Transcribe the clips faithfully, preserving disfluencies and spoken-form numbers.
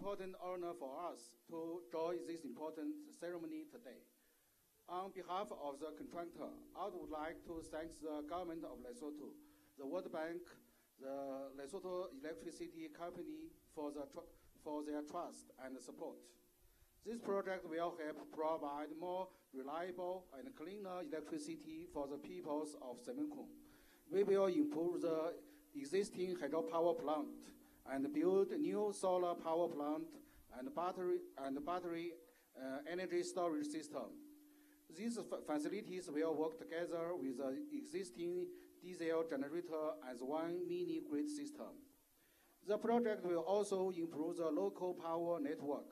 important honor for us to join this important ceremony today. On behalf of the contractor, I would like to thank the government of Lesotho, the World Bank, the Lesotho Electricity Company for, the tr for their trust and support. This project will help provide more reliable and cleaner electricity for the peoples of Semonkong. We will improve the existing hydropower plant and build new solar power plant and battery, and battery uh, energy storage system. These facilities will work together with the existing diesel generator as one mini-grid system. The project will also improve the local power network,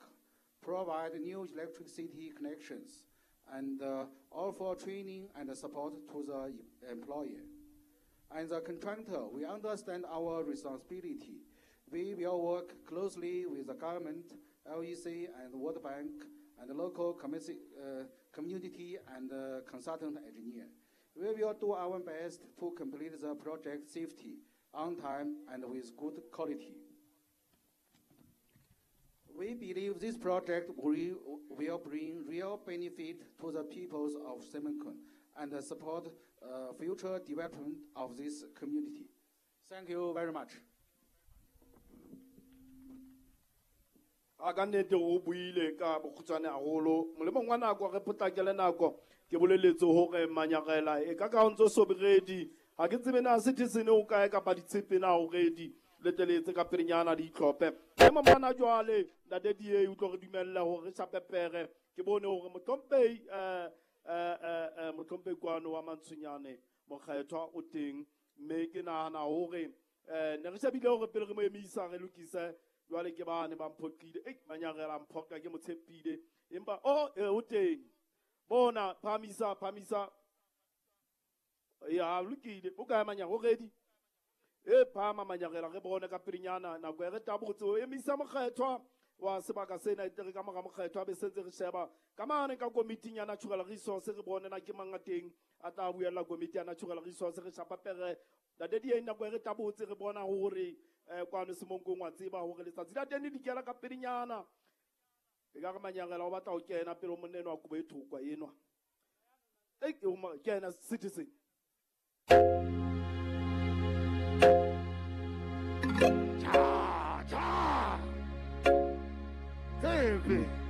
provide new electricity connections, and uh, offer training and support to the employer. And the contractor, we understand our responsibility. We will work closely with the government, L E C, and World Bank, and the local community, uh, community and uh, consultant engineer. We will do our best to complete the project safety, on time, and with good quality. We believe this project will, will bring real benefit to the peoples of Semonkong and support, uh, future development of this community. Thank you very much. A ka nnete o buile ka bokgutshwane haholo. Molemong wa nako re potlakele nako, ke boleletse hore manyarela e ka ka o ntso so be ready. Ha ke tsebe na citizen o kae kapa ditshepe na o ready. Le teletse ka pelenyana di itlhophe. Ema mona jwale ntate D A o tlo re dumella hore re shape pere. Ke bone hore mohlomphehi, eh, eh, eh, eh, mohlomphehi kwano wa Mantsonyane mokgethwa o teng, mme ke nahana hore, eh, ne re shebile hore pele re mo emisa re lokise. Jwale ke bane ba mphoqile. Ei, manyarela mphoqa ke mo tshepile. Empa, oh, eh, o teng. Bona, phamisa, phamisa. Ya, lokile. O kae manyarela? O ready? E phama manyarela re bone ka pelenyana nako e re tabotse o emisa mokgethwa wa sebaka sena e tere ka mora mokgethwa be sentse re sheba ka mane ka committee ya natural resource re bone na ke mang a teng a tla buella committee ya natural resource re shapa pere. Ntate D A nako e re tabotse re bona hore, eh, kwano Semonkong wa tseba hore letsatsi la teng le dikela ka pelenyana. E ka re manyarela o batla ho kena pele monna enwa wa kobo e thokwa enwa. Ei, ke o ma-, kena citizen. Cha, cha. Tshepe.